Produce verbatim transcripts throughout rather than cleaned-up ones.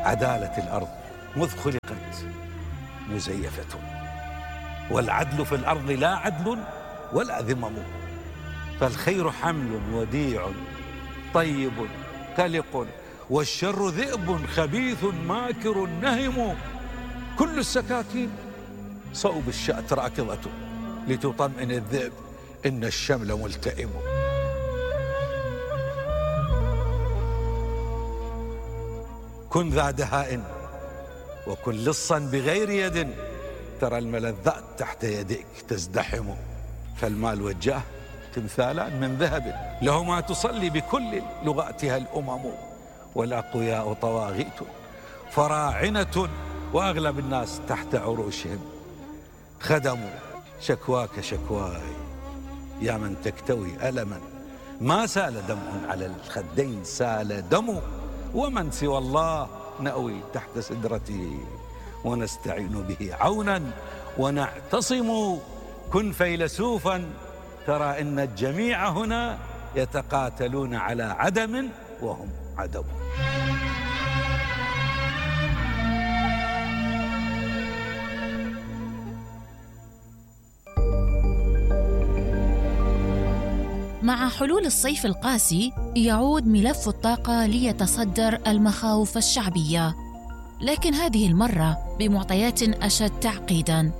عدالة الأرض مذ خلقت مزيفة، والعدل في الأرض لا عدل ولا ذمم، فالخير حمل وديع طيب قلق، والشر ذئب خبيث ماكر نهم، كل السكاكين صوب الشأت راكضة، لتطمئن الذئب إن الشمل ملتئم. كن ذا دهاء وكن لصا بغير يد، ترى الملذات تحت يديك تزدحم، فالمال والجاه تمثالان من ذهب، لهما تصلي بكل لغاتها الأمم، والأقوياء طواغيت فراعنة، وأغلب الناس تحت عروشهم خدموا. شكواك شكواي يا من تكتوي ألما، ما سال دمع على الخدين سال دم، ومن سوى الله نأوي تحت سدرته، ونستعين به عونا ونعتصم. كن فيلسوفا ترى إن الجميع هنا يتقاتلون على عدم وهم عدم. مع حلول الصيف القاسي يعود ملف الطاقة ليتصدر المخاوف الشعبية، لكن هذه المرة بمعطيات أشد تعقيداً.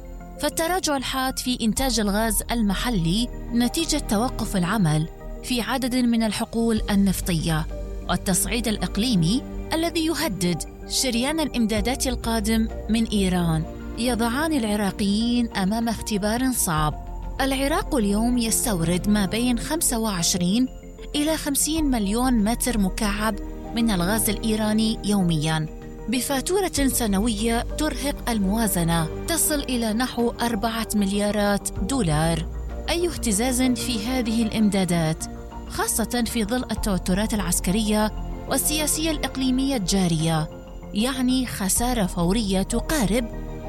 فالتراجع الحاد في إنتاج الغاز المحلي نتيجة توقف العمل في عدد من الحقول النفطية، والتصعيد الإقليمي الذي يهدد شريان الإمدادات القادم من إيران، يضعان العراقيين أمام اختبار صعب. العراق اليوم يستورد ما بين خمسة وعشرين إلى خمسين مليون متر مكعب من الغاز الإيراني يومياً، بفاتورة سنوية ترهق الموازنة تصل إلى نحو أربعة مليارات دولار. أي اهتزاز في هذه الإمدادات، خاصة في ظل التوترات العسكرية والسياسية الإقليمية الجارية، يعني خسارة فورية تقارب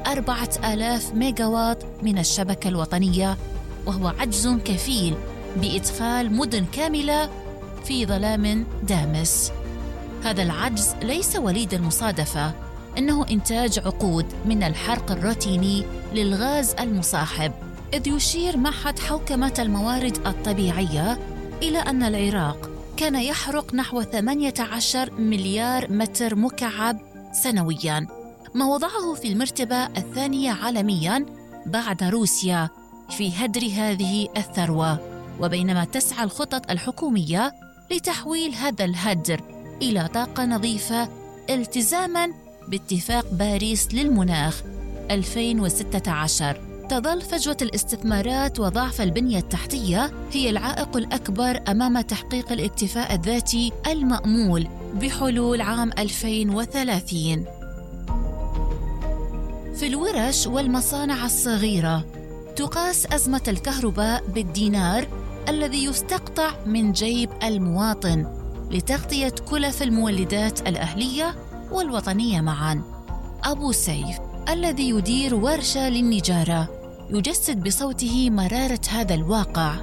أربعة آلاف ميجاوات من الشبكة الوطنية، وهو عجز كفيل بإدخال مدن كاملة في ظلام دامس. هذا العجز ليس وليد المصادفة، إنه إنتاج عقود من الحرق الروتيني للغاز المصاحب، إذ يشير معهد حوكمة الموارد الطبيعية إلى أن العراق كان يحرق نحو ثمانية عشر مليار متر مكعب سنوياً، ما وضعه في المرتبة الثانية عالمياً بعد روسيا في هدر هذه الثروة. وبينما تسعى الخطط الحكومية لتحويل هذا الهدر إلى طاقة نظيفة التزاماً باتفاق باريس للمناخ ألفين وستة عشر، تظل فجوة الاستثمارات وضعف البنية التحتية هي العائق الأكبر أمام تحقيق الاكتفاء الذاتي المأمول بحلول عام ألفين وثلاثين. في الورش والمصانع الصغيرة تقاس أزمة الكهرباء بالدينار الذي يستقطع من جيب المواطن لتغطية كلف المولدات الأهلية والوطنية معاً. أبو سيف الذي يدير ورشة للنجارة يجسد بصوته مرارة هذا الواقع،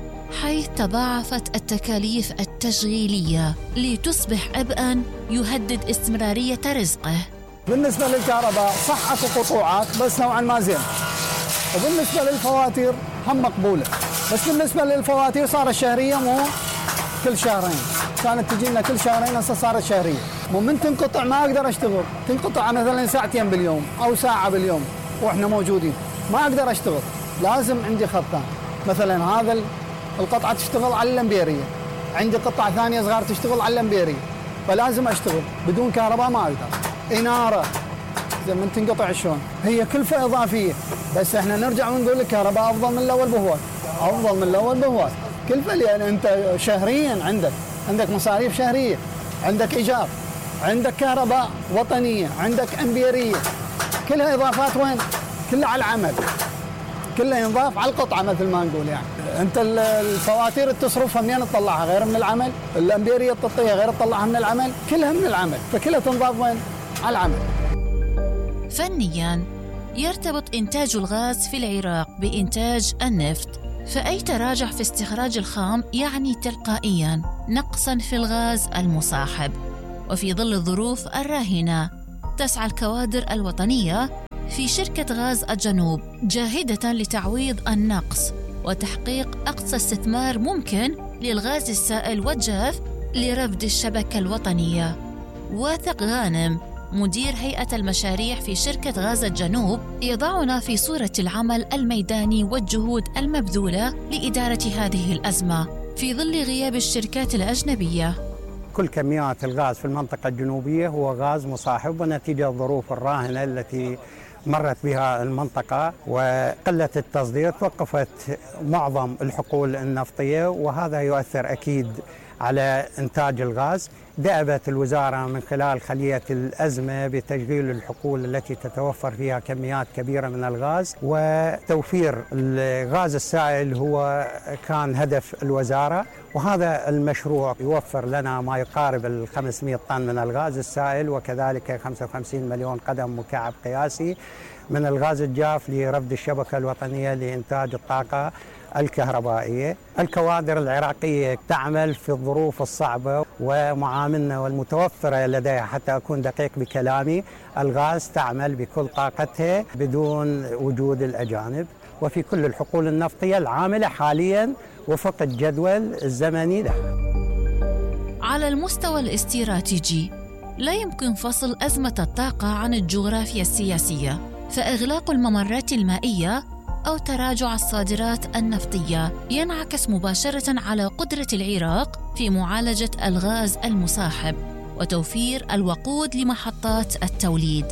حيث تضاعفت التكاليف التشغيلية لتصبح عبئاً يهدد استمرارية رزقه. بالنسبة للكهرباء صح اكو قطوعات بس نوعا ما زين، وبالنسبة للفواتير هم مقبولة، بس بالنسبة للفواتير صارت شهرية مو كل شهرين، كانت تجي لنا كل شهرين هسه صارت شهرية. ومن تنقطع ما اقدر اشتغل، تنقطع مثلا ساعتين باليوم او ساعة باليوم واحنا موجودين، ما اقدر اشتغل، لازم عندي خطان. مثلا هذا القطعة تشتغل على الامبيرية، عندي قطعة ثانية صغار تشتغل على الامبيرية، فلازم اشتغل، بدون كهرباء ما اقدر. إنارة زي من تنقطع شلون، هي كلفة إضافية، بس احنا نرجع ونقول الكهرباء أفضل من الأول بهواي، أفضل من الأول بهواي. كلفة لأن أنت شهريا عندك عندك مصاريف شهرية، عندك إيجار، عندك كهرباء وطنية، عندك أمبيرية، كلها إضافات. وين؟ كلها على العمل، كلها ينضاف على القطعة مثل ما نقول. يعني أنت الفواتير تصرفها منين تطلعها غير من العمل، الأمبيرية تطيها غير تطلعها من العمل، كلها من العمل، فكلها تنضاف وين؟ على العمل. فنياً يرتبط إنتاج الغاز في العراق بإنتاج النفط، فأي تراجع في استخراج الخام يعني تلقائياً نقصاً في الغاز المصاحب. وفي ظل الظروف الراهنة تسعى الكوادر الوطنية في شركة غاز الجنوب جاهدة لتعويض النقص وتحقيق أقصى استثمار ممكن للغاز السائل والجاف لرفد الشبكة الوطنية. واثق غانم مدير هيئة المشاريع في شركة غاز الجنوب يضعنا في صورة العمل الميداني والجهود المبذولة لإدارة هذه الأزمة في ظل غياب الشركات الأجنبية. كل كميات الغاز في المنطقة الجنوبية هو غاز مصاحب، ونتيجة الظروف الراهنة التي مرت بها المنطقة وقلة التصدير توقفت معظم الحقول النفطية، وهذا يؤثر أكيد على إنتاج الغاز. دأبت الوزارة من خلال خلية الأزمة بتشغيل الحقول التي تتوفر فيها كميات كبيرة من الغاز، وتوفير الغاز السائل هو كان هدف الوزارة، وهذا المشروع يوفر لنا ما يقارب ال خمسمئة طن من الغاز السائل، وكذلك خمسة وخمسين مليون قدم مكعب قياسي من الغاز الجاف لرفد الشبكة الوطنية لإنتاج الطاقة الكهربائية. الكوادر العراقية تعمل في الظروف الصعبة، ومعاملنا والمتوفرة لديها، حتى أكون دقيق بكلامي، الغاز تعمل بكل طاقتها بدون وجود الأجانب، وفي كل الحقول النفطية العاملة حالياً وفق الجدول الزمني له. على المستوى الاستراتيجي لا يمكن فصل أزمة الطاقة عن الجغرافيا السياسية، فإغلاق الممرات المائية أو تراجع الصادرات النفطية ينعكس مباشرة على قدرة العراق في معالجة الغاز المصاحب وتوفير الوقود لمحطات التوليد.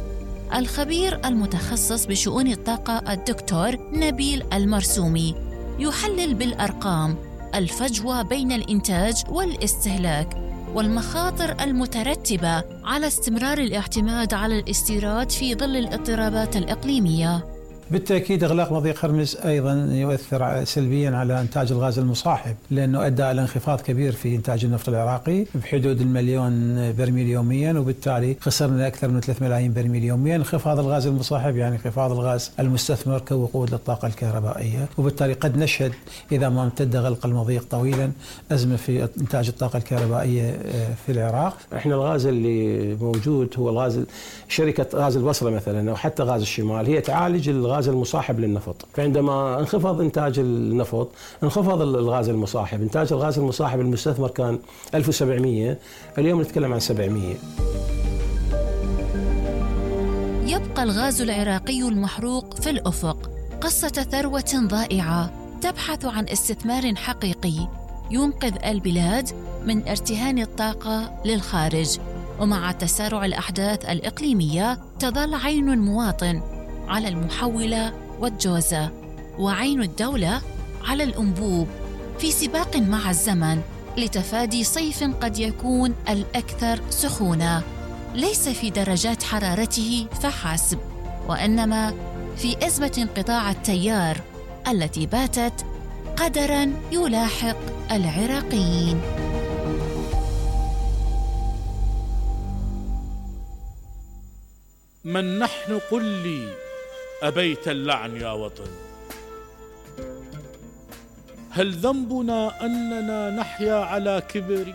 الخبير المتخصص بشؤون الطاقة الدكتور نبيل المرسومي يحلل بالأرقام الفجوة بين الإنتاج والاستهلاك والمخاطر المترتبة على استمرار الاعتماد على الاستيراد في ظل الاضطرابات الإقليمية. بالتأكيد إغلاق مضيق هرمز أيضا يؤثر سلبيا على إنتاج الغاز المصاحب، لأنه أدى إلى انخفاض كبير في إنتاج النفط العراقي بحدود المليون برميل يوميا، وبالتالي خسرنا أكثر من ثلاثة ملايين برميل يوميا. انخفاض الغاز المصاحب يعني انخفاض الغاز المستثمر كوقود للطاقة الكهربائية، وبالتالي قد نشهد إذا ما امتد غلق المضيق طويلا أزمة في إنتاج الطاقة الكهربائية في العراق. احنا الغاز اللي موجود هو الغاز شركة غاز البصرة مثلا أو حتى غاز الشمال، هي تعالج الغاز المصاحب للنفط، فعندما انخفض إنتاج النفط انخفض الغاز المصاحب. إنتاج الغاز المصاحب المستثمر كان ألف وسبعمئة، اليوم نتكلم عن سبعمئة. يبقى الغاز العراقي المحروق في الأفق قصة ثروة ضائعة تبحث عن استثمار حقيقي ينقذ البلاد من ارتهان الطاقة للخارج. ومع تسارع الأحداث الإقليمية تظل عين المواطن على المحولة والجوزة، وعين الدولة على الأنبوب في سباق مع الزمن لتفادي صيف قد يكون الأكثر سخونة، ليس في درجات حرارته فحسب، وإنما في أزمة انقطاع التيار التي باتت قدراً يلاحق العراقيين. من نحن قل لي أبيت اللعن يا وطن؟ هل ذنبنا أننا نحيا على كبر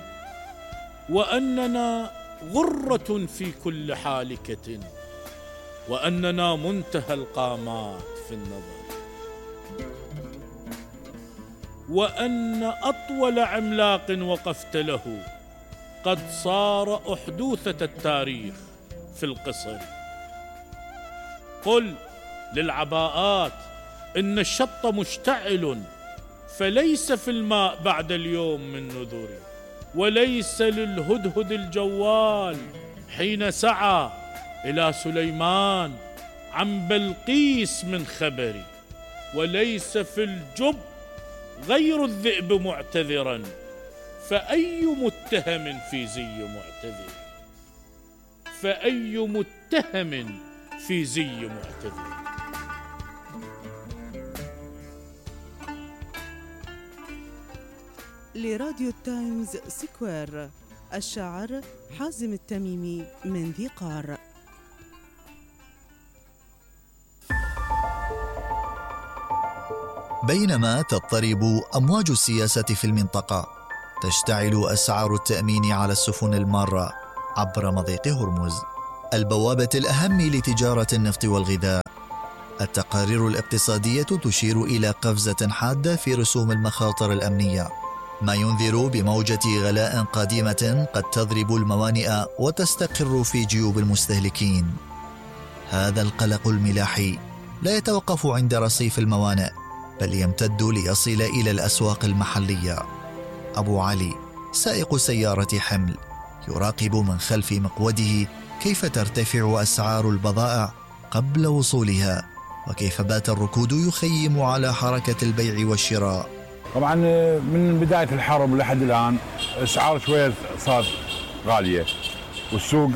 وأننا غرة في كل حالكة وأننا منتهى القامات في النظر، وأن أطول عملاق وقفت له قد صار أحدوثة التاريخ في القصر؟ قل للعباءات إن الشط مشتعل فليس في الماء بعد اليوم من نذر، وليس للهدهد الجوال حين سعى إلى سليمان عن بلقيس من خبر، وليس في الجب غير الذئب معتذرا، فأي متهم في زي معتذر، فأي متهم في زي معتذر. لراديو تايمز سكوير، الشاعر حازم التميمي من ذي قار. بينما تضطرب أمواج السياسة في المنطقة، تشتعل أسعار التأمين على السفن المارة عبر مضيق هرمز البوابة الأهم لتجارة النفط والغذاء. التقارير الاقتصادية تشير إلى قفزة حادة في رسوم المخاطر الأمنية، ما ينذر بموجة غلاء قادمة قد تضرب الموانئ وتستقر في جيوب المستهلكين. هذا القلق الملاحي لا يتوقف عند رصيف الموانئ، بل يمتد ليصل إلى الأسواق المحلية. أبو علي سائق سيارة حمل يراقب من خلف مقوده كيف ترتفع أسعار البضائع قبل وصولها، وكيف بات الركود يخيم على حركة البيع والشراء. طبعا من بداية الحرب لحد الآن أسعار شوية صارت غالية، والسوق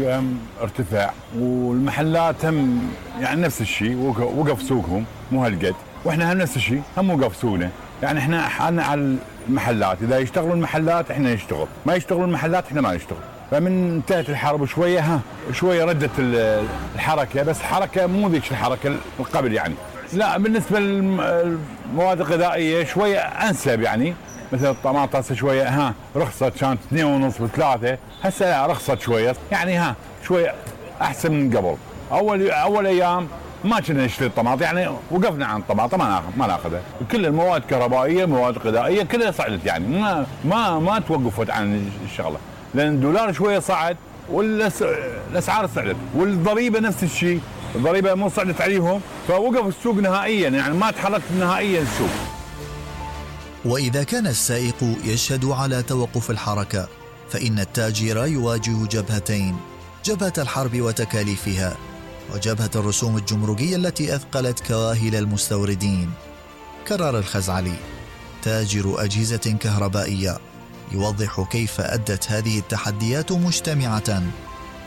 ارتفع، والمحلات هم يعني نفس الشيء، وقف سوقهم مو هالقد، واحنا هم نفس الشيء هم وقف سوقنا. يعني احنا حالنا على المحلات، اذا يشتغلوا المحلات احنا نشتغل، ما يشتغلوا المحلات احنا ما نشتغل. فمن انتهت الحرب شويه ها شويه ردت الحركه، بس حركه مو ذيك الحركه القبل يعني. لا بالنسبه للمواد الغذائيه شويه انسب يعني، مثل الطماطم شويه ها رخصت، كانت اثنين ونص وثلاثه، هسه رخصت شويه يعني، ها شويه احسن من قبل. اول اول ايام ما كنا نشتري الطماطم يعني، وقفنا عن الطماطم ما ما ناخذها. كل المواد الكهربائيه المواد الغذائيه كلها صعدت يعني، ما ما ما توقفت عن الشغله، لان الدولار شويه صعد والاسعار صعدت، والضريبه نفس الشيء، الضريبه مو صعدت عليهم، فوقف السوق نهائيا يعني، ما تحرك نهائيا السوق. وإذا كان السائق يشهد على توقف الحركة، فإن التاجر يواجه جبهتين: جبهة الحرب وتكاليفها، وجبهة الرسوم الجمركية التي أثقلت كواهل المستوردين. كرر الخزعلي تاجر أجهزة كهربائية يوضح كيف أدت هذه التحديات مجتمعة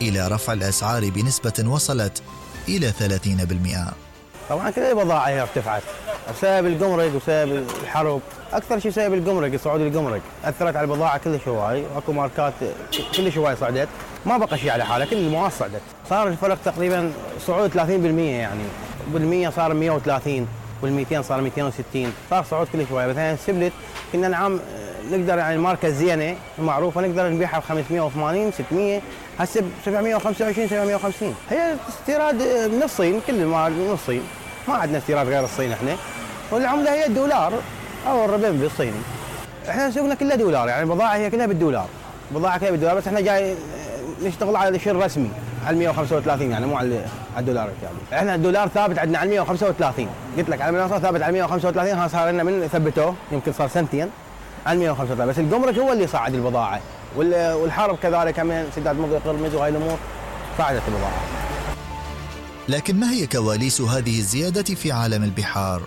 إلى رفع الأسعار بنسبة وصلت إلى ثلاثين بالمئة. طبعا كل البضائع هي ارتفعت بسبب الجمرك وسبب الحرب، اكثر شيء بسبب الجمرك، صعود الجمرك اثرت على البضاعه كلش هواي، واكو ماركات كلش هواي صعدت، ما بقى شيء على حاله، كل المواد صعدت. صار الفرق تقريبا صعود ثلاثين بالمئة يعني، بالمية صار مئة وثلاثين، والمئتين صار مئتين وستين، صار صعود كلش هواي. مثلا السبلت كنا نعم نقدر يعني الماركه الزينه المعروفه نقدر نبيعها ب خمسمئة وثمانين ستمئة، هسه ب سبعمئة وخمسة وعشرين سبعمئة وخمسين. هي استيراد من الصين، كل المواد من الصين، ما عندنا استيراد غير الصين احنا، والعمله هي الدولار او الربيع الصيني. احنا سوقنا كله دولار يعني، البضاعه هي كلها بالدولار، البضاعه كلها بالدولار، بس احنا جاي نشتغل على الشيء الرسمي على مئة وخمسة وثلاثين يعني، مو على الدولار يعني. احنا الدولار ثابت عندنا على مئة وخمسة وثلاثين، قلت لك على المنصه ثابت على مئة وخمسة وثلاثين، ها صار لنا من ثبتوه يمكن صار سنتين على مئة وخمسة وثلاثين، بس الجمرك هو اللي صعد البضاعه، والحرب كذلك من سداد مضيق قرمز وهاي الامور صعدت البضاعه. لكن ما هي كواليس هذه الزيادة في عالم البحار؟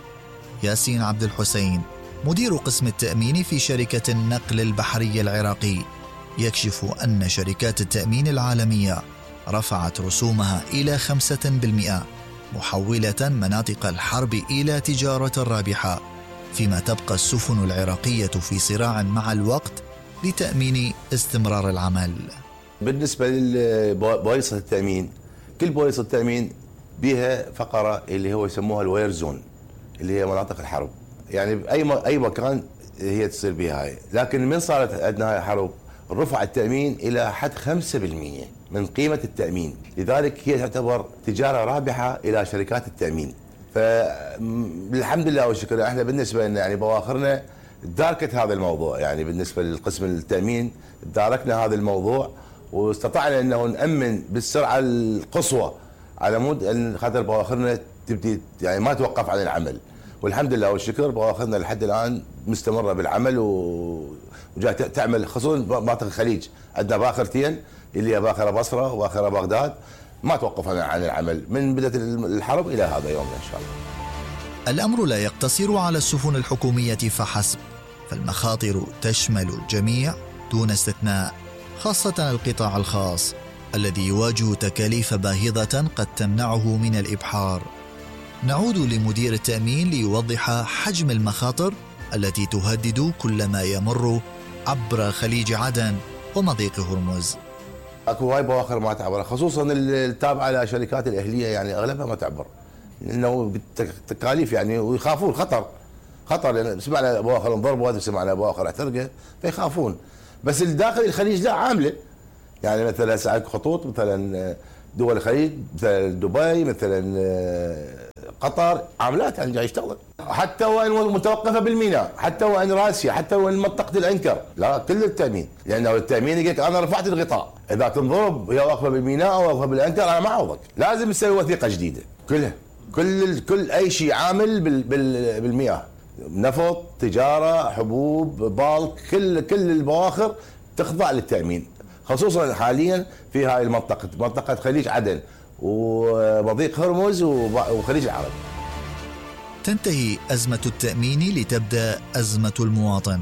ياسين عبد الحسين مدير قسم التأمين في شركة النقل البحري العراقي يكشف أن شركات التأمين العالمية رفعت رسومها إلى خمسة بالمئة، محولة مناطق الحرب إلى تجارة رابحة، فيما تبقى السفن العراقية في صراع مع الوقت لتأمين استمرار العمل. بالنسبة لبوليصة التأمين، كل بوليصة التأمين بها فقرة اللي هو يسموها الوير زون، اللي هي مناطق الحرب، يعني بأي أي مكان هي تصير بها هاي. لكن من صارت عندنا هاي الحرب رفع التأمين إلى حد خمسة بالمئة من قيمة التأمين، لذلك هي تعتبر تجارة رابحة إلى شركات التأمين. فالحمد لله والشكر احنا بالنسبة لنا يعني بواخرنا داركت هذا الموضوع، يعني بالنسبة للقسم التأمين داركنا هذا الموضوع واستطعنا انه نأمن بالسرعة القصوى على مود ان خاطر بواخرنا تبدي يعني ما توقف عن العمل، والحمد لله والشكر بواخرنا لحد الان مستمرة بالعمل وجاي تعمل، خصوصا مناطق الخليج عندنا باخرتين اللي هي باخرة بصرة وباخرة بغداد ما توقف عن العمل من بداية الحرب إلى هذا يومنا إن شاء الله. الأمر لا يقتصر على السفن الحكومية فحسب، فالمخاطر تشمل الجميع دون استثناء، خاصة القطاع الخاص الذي يواجه تكاليف باهظة قد تمنعه من الإبحار. نعود لمدير التأمين ليوضح حجم المخاطر التي تهدد كل ما يمر عبر خليج عدن ومضيق هرمز. اكو هاي بواخر ما تعبر، خصوصا التابعه لشركات الاهليه يعني اغلبها ما تعبر، لانه تكاليف يعني ويخافون خطر خطر، لان سمعنا بواخر انضربوا، سمعنا بواخر احترقت فيخافون. بس الداخل الخليج لا عامله، يعني مثلا هسه اكو خطوط مثلا دول الخليج مثل دبي مثلا قطر عاملات يعني يشتغل، حتى وان متوقفه بالميناء، حتى وان راسيه، حتى وان منطقه الانكر، لا كل التامين، لانه التامين يقول انا رفعت الغطاء، اذا تنضرب يا واقفه بالميناء او واقفه بالانكر انا ما اعوضك، لازم تسوي وثيقه جديده كلها، كل كل اي شيء عامل بال بال بالمياه، نفط، تجاره، حبوب، بالك، كل كل البواخر تخضع للتامين، خصوصا حاليا في هاي المنطقه، منطقه خليج عدن ومضيق هرمز وخليج العرب. تنتهي أزمة التأمين لتبدأ أزمة المواطن،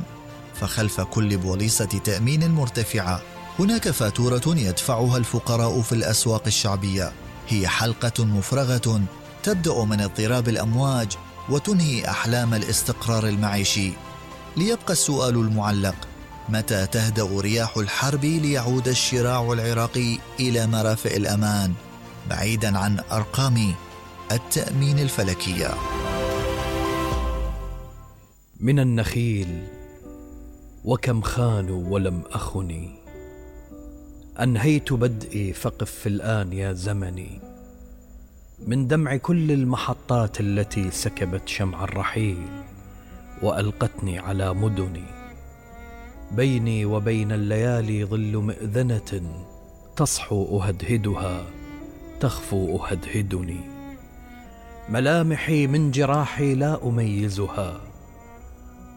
فخلف كل بوليصة تأمين مرتفعة هناك فاتورة يدفعها الفقراء في الأسواق الشعبية، هي حلقة مفرغة تبدأ من اضطراب الأمواج وتنهي أحلام الاستقرار المعيشي. ليبقى السؤال المعلق: متى تهدأ رياح الحرب ليعود الشراع العراقي إلى مرافئ الأمان بعيداً عن أرقام التأمين الفلكية؟ من النخيل وكم خانوا ولم أخني، أنهيت بدئي فقف في الآن يا زمني، من دمع كل المحطات التي سكبت شمع الرحيل وألقتني على مدني، بيني وبين الليالي ظل مئذنة تصحو أهدهدها تخفو أهدهدني، ملامحي من جراحي لا أميزها،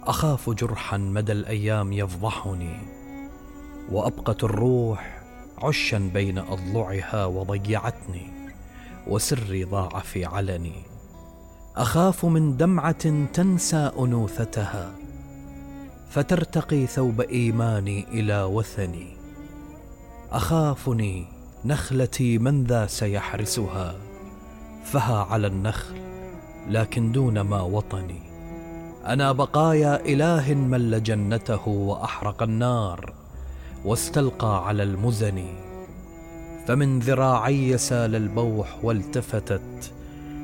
أخاف جرحا مدى الأيام يفضحني، وأبقت الروح عشا بين أضلعها وضيعتني، وسري ضاع في علني، أخاف من دمعة تنسى أنوثتها فترتقي ثوب إيماني إلى وثني، أخافني نخلتي من ذا سيحرسها، فها على النخل لكن دون ما وطني، أنا بقايا إله مل جنته وأحرق النار واستلقى على المزن، فمن ذراعي سال البوح والتفتت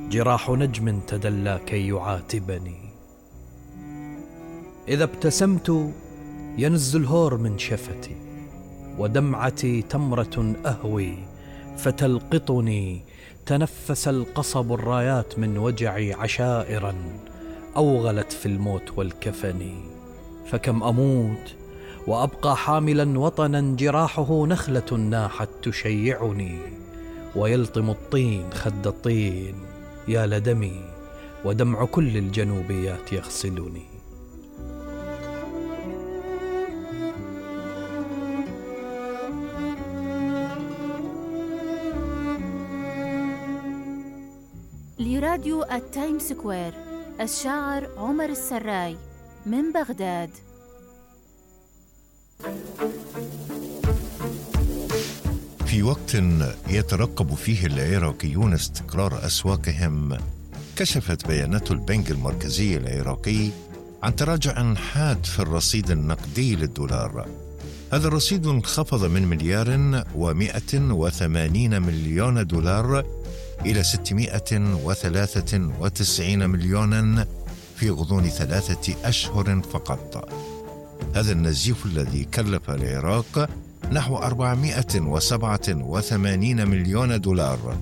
جراح نجم تدلى كي يعاتبني، إذا ابتسمت ينز الهور من شفتي، ودمعتي تمرة أهوي فتلقطني، تنفس القصب الرايات من وجعي عشائرا أوغلت في الموت والكفن، فكم أموت وأبقى حاملا وطنا جراحه نخلة ناحت تشيعني، ويلطم الطين خد الطين يا لدمي، ودمع كل الجنوبيات يغسلني. لراديو التايم سكوير، الشاعر عمر السراي من بغداد. في وقت يترقب فيه العراقيون استقرار أسواقهم، كشفت بيانات البنك المركزي العراقي عن تراجع حاد في الرصيد النقدي للدولار. هذا الرصيد انخفض من مليار ومئة وثمانين مليون دولار إلى ستمائة وثلاثة وتسعين مليونا في غضون ثلاثة أشهر فقط. هذا النزيف الذي كلف العراق نحو أربعمائة وسبعة وثمانين مليون دولار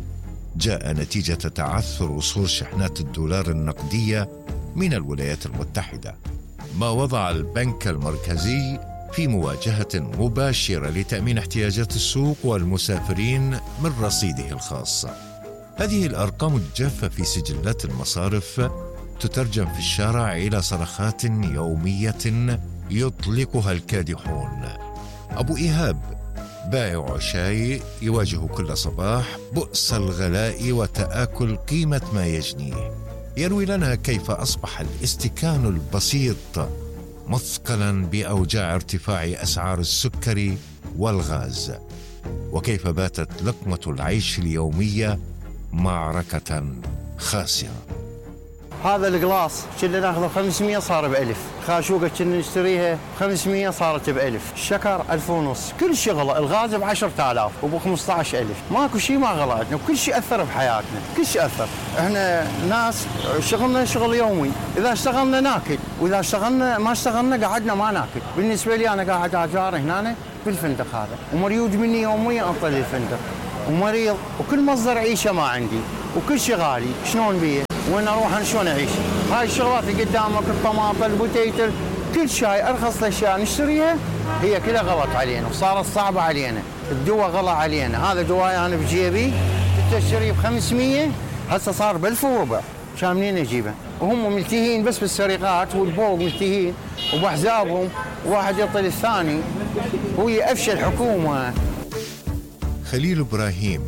جاء نتيجة تعثر وصول شحنات الدولار النقدية من الولايات المتحدة، ما وضع البنك المركزي في مواجهة مباشرة لتأمين احتياجات السوق والمسافرين من رصيده الخاص. هذه الأرقام الجافة في سجلات المصارف تترجم في الشارع إلى صرخات يومية يطلقها الكادحون. أبو إيهاب بائع شاي يواجه كل صباح بؤس الغلاء وتآكل قيمة ما يجنيه، يروي لنا كيف أصبح الاستكان البسيط مثقلا بأوجاع ارتفاع أسعار السكر والغاز، وكيف باتت لقمة العيش اليومية معركة خاسرة. هذا القلاص كنا ناخذه خمسمائة صار بألف، خاشوقة كنا نشتريها خمسمائة صارت بألف، الشكر ألف ونص، كل شيء غلى، الغاز بعشرة آلاف وبخمسة عشر ألف، ماكو شيء ما غلى عندنا، وكل شيء أثر بحياتنا، كل شيء أثر. احنا ناس شغلنا شغل يومي، إذا اشتغلنا ناكل، وإذا اشتغلنا ما اشتغلنا قعدنا ما ناكل. بالنسبة لي أنا قاعد أجار هنا بالفندق هذا، ومريوج مني يوميا أنطلي الفندق. ومريض وكل مصدر عيشه ما عندي وكل شيء غالي، شلون بيه؟ وين اروح انا شلون اعيش؟ هاي الشغلات اللي قدامك الطماطم البوتيتل كل شيء ارخص الاشياء نشتريها هي كلها غلط علينا وصارت صعبه علينا، الدواء غلى علينا، هذا دواء انا بجيبي تشتريه ب خمسمية هسه صار ب ألف وربع، كان منين اجيبه؟ وهم ملتهين بس بالسرقات والبوق ملتهين وبحزابهم واحد يطل الثاني وهي افشل حكومه. خليل إبراهيم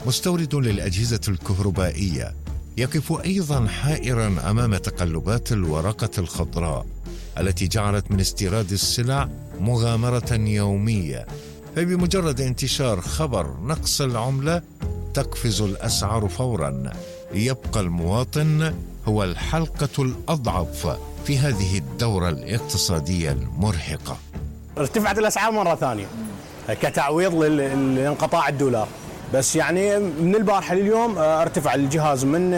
مستورد للأجهزة الكهربائية يقف أيضا حائرا أمام تقلبات الورقة الخضراء التي جعلت من استيراد السلع مغامرة يومية، فبمجرد انتشار خبر نقص العملة تقفز الأسعار فورا، ليبقى المواطن هو الحلقة الأضعف في هذه الدورة الاقتصادية المرهقة. ارتفعت الأسعار مرة ثانية كتعويض لانقطاع الدولار، بس يعني من البارحة لليوم ارتفع الجهاز من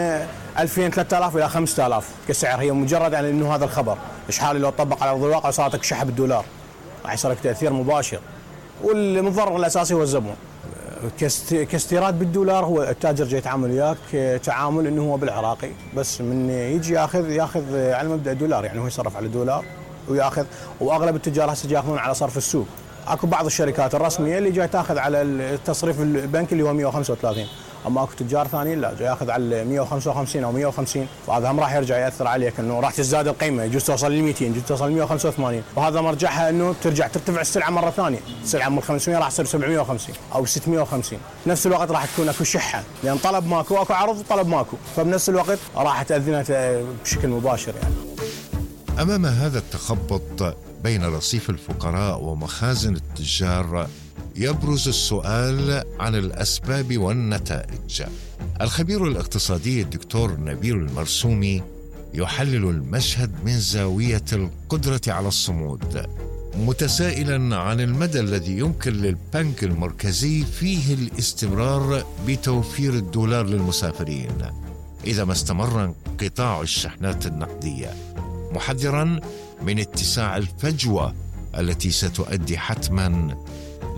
ألفين ثلاثة آلاف إلى خمسة آلاف كسعر، هي مجرد يعني إنه هذا الخبر إشحالي لو طبق على أرض الواقع صارت شحب الدولار راح يصير لك تأثير مباشر، والمتضرر الأساسي هو الزبون. كاستيراد بالدولار هو التاجر جاي يتعامل وياك تعامل إنه هو بالعراقي، بس من يجي ياخذ ياخذ على مبدأ الدولار، يعني هو يصرف على الدولار وياخذ، وأغلب التجار هسه ياخذون على صرف السوق. اكو بعض الشركات الرسميه اللي جاي تاخذ على التصريف البنكي اللي هو مئة وخمسة وثلاثين، اما اكو تجار ثانيين لا جاي ياخذ على مئة وخمسة وخمسين او مئة وخمسين، فهذا هم راح يرجع ياثر عليك انه راح تزداد القيمه، يجوز توصل ل مئتين، يجوز توصل ل مئة وخمسة وثمانين، وهذا مرجعها انه ترجع ترتفع السلعه مره ثانيه، السلعه من خمسمئة راح تصير سبعمئة وخمسين او ستمئة وخمسين، بنفس الوقت راح تكون اكو شحه لان طلب ماكو، اكو عرض وطلب ماكو، فبنفس الوقت راح تاذينا بشكل مباشر يعني. أمام هذا التخبط بين رصيف الفقراء ومخازن التجار يبرز السؤال عن الأسباب والنتائج. الخبير الاقتصادي الدكتور نبيل المرسومي يحلل المشهد من زاوية القدرة على الصمود، متسائلا عن المدى الذي يمكن للبنك المركزي فيه الاستمرار بتوفير الدولار للمسافرين إذا ما استمر انقطاع الشحنات النقدية، محذرا من اتساع الفجوة التي ستؤدي حتما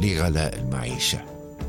لغلاء المعيشة.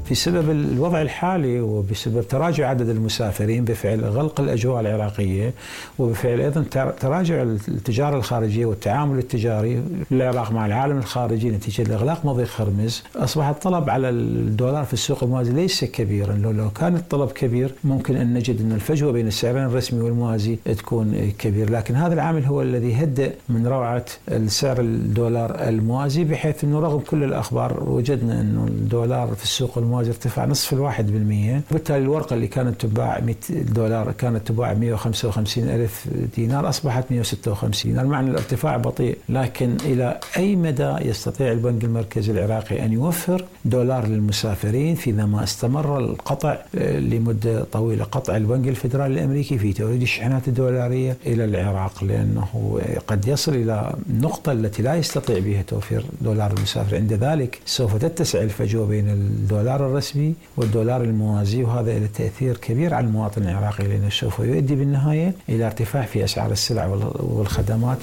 في سبب الوضع الحالي وبسبب تراجع عدد المسافرين بفعل غلق الأجواء العراقية وبفعل أيضا تراجع التجارة الخارجية والتعامل التجاري للعراق مع العالم الخارجي نتيجة لإغلاق مضيق خرمز، أصبح الطلب على الدولار في السوق الموازي ليس كبيرا. لو لو كان الطلب كبير ممكن أن نجد أن الفجوة بين السعرين الرسمي والموازي تكون كبير، لكن هذا العامل هو الذي هدأ من روعة السعر الدولار الموازي، بحيث أنه رغم كل الأخبار وجدنا أنه الدولار في السوق الموازي ارتفع نصف الواحد بالمية، وبالتالي الورقة اللي كانت تباع مئة دولار كانت تباع مئة وخمسة وخمسين ألف دينار أصبحت مئة وستة وخمسين دينار، معنى الارتفاع بطيء. لكن إلى أي مدى يستطيع البنك المركزي العراقي أن يوفر دولار للمسافرين فيما ما استمر القطع لمدة طويلة، قطع البنك الفيدرالي الأمريكي في توريد الشحنات الدولارية إلى العراق، لأنه قد يصل إلى النقطة التي لا يستطيع بها توفير دولار المسافر، عند ذلك سوف تتسع الفجوة بين الدولار الرسمي والدولار الموازي، وهذا له تأثير كبير على المواطن العراقي، لأنه سوف يؤدي بالنهاية إلى ارتفاع في أسعار السلع والخدمات.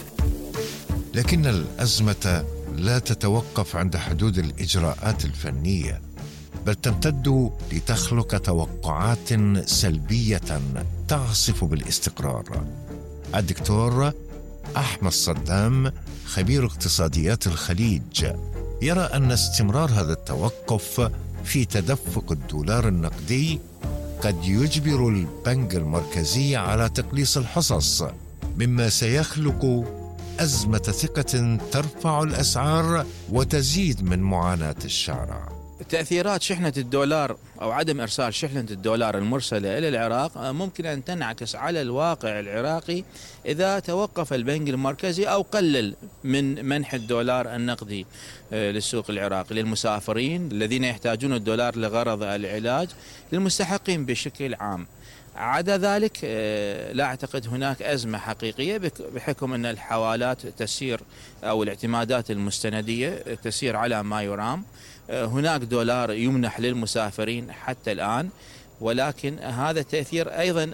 لكن الأزمة لا تتوقف عند حدود الإجراءات الفنية، بل تمتد لتخلق توقعات سلبية تعصف بالاستقرار. الدكتور أحمد صدام خبير اقتصاديات الخليج يرى أن استمرار هذا التوقف في تدفق الدولار النقدي قد يجبر البنك المركزي على تقليص الحصص، مما سيخلق أزمة ثقة ترفع الأسعار وتزيد من معاناة الشارع. تأثيرات شحنة الدولار أو عدم إرسال شحنة الدولار المرسلة إلى العراق ممكن أن تنعكس على الواقع العراقي إذا توقف البنك المركزي أو قلل من منح الدولار النقدي للسوق العراقي للمسافرين الذين يحتاجون الدولار لغرض العلاج، للمستحقين بشكل عام. عدا ذلك لا أعتقد هناك أزمة حقيقية بحكم أن الحوالات تسير أو الاعتمادات المستندية تسير على ما يرام. هناك دولار يمنح للمسافرين حتى الآن، ولكن هذا التأثير أيضا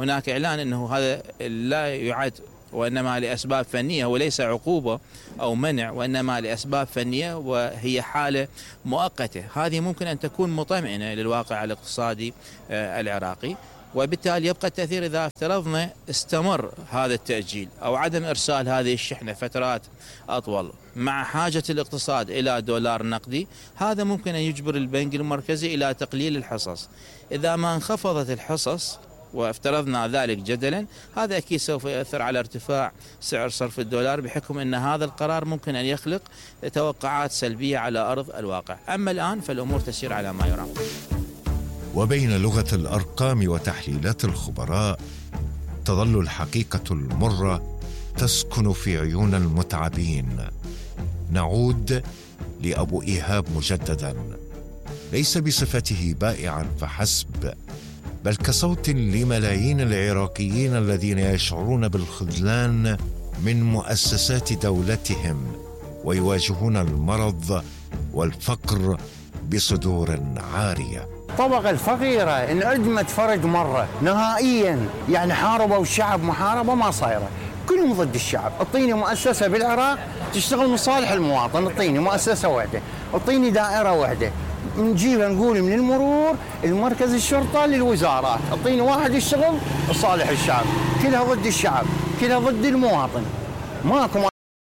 هناك إعلان أنه هذا لا يعد وإنما لأسباب فنية، وليس عقوبة أو منع، وإنما لأسباب فنية وهي حالة مؤقتة. هذه ممكن أن تكون مطمئنة للواقع الاقتصادي العراقي، وبالتالي يبقى التأثير إذا افترضنا استمر هذا التأجيل أو عدم إرسال هذه الشحنة فترات أطول مع حاجة الاقتصاد إلى دولار نقدي. هذا ممكن أن يجبر البنك المركزي إلى تقليل الحصص. إذا ما انخفضت الحصص وافترضنا ذلك جدلا، هذا أكيد سوف يؤثر على ارتفاع سعر صرف الدولار، بحكم أن هذا القرار ممكن أن يخلق توقعات سلبية على أرض الواقع. أما الآن فالأمور تسير على ما يرام. وبين لغة الأرقام وتحليلات الخبراء تظل الحقيقة المرة تسكن في عيون المتعبين. نعود لأبو إيهاب مجددا، ليس بصفته بائعا فحسب، بل كصوت لملايين العراقيين الذين يشعرون بالخذلان من مؤسسات دولتهم ويواجهون المرض والفقر بصدور عارية. الطبقة الفقيرة انعدمت فرد مرة نهائيا، يعني حاربوا الشعب محاربة ما صايرة، كلهم ضد الشعب. اعطيني مؤسسة بالعراق تشتغل مصالح المواطن، اعطيني مؤسسة واحدة، اعطيني دائرة واحدة، نجيبها نقول من المرور المركز الشرطة للوزارات، اعطيني واحد يشتغل لصالح الشعب. كلها ضد الشعب، كلها ضد المواطن، ماكو